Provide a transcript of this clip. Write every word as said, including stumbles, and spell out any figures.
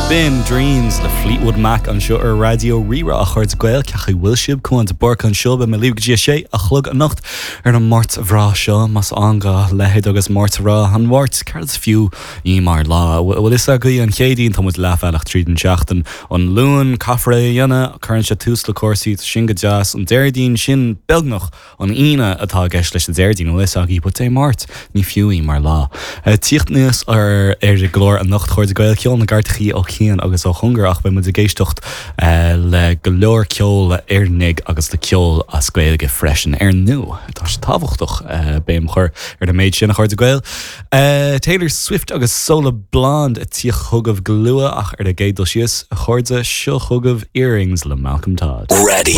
B'in Dreams le Fleetwood Mac anseo ar Raidió Rí-Rá a chairde Gael cén chaoi a bhfuil sibh Cuán de Búrca anseo beidh mé libh go dtí a sé a chlog anocht ar an Máirt bhreá seo más ann dá leithéid agus Máirt rá an Mháirt céard is fiú í mar lá. bhfuil a fhios agaibh an Chéadaoin tá muid leathbhealach tríd an seachtain an Luan caithfear é a dhéanamh cuireann sé tús le cúrsaí sin go deas an Déardaoin sin beagnach an Aoine atá i gceist leis an Déardaoin bhfuil a fhios agaibh but Dé Máirt ní fiú í mar lá. Tíocht níos ar ar an gclár anocht a chairde Gael ceol na gcairteachaí ó chian agus ó chóngar ach beidh muid ag éisteacht le go leor ceol Éireannaigh agus le ceol as Gaeilge freisin ar ndóigh. Tá sé tábhachtach béim a chur ar an méid sin a chairde Gael. Taylor Swift agus Sola Blonde ag tíocht chugaibh go luath ach ar an gcéad dul síos a chairde seo chugaibh Earrings le Malcolm Todd. Ready.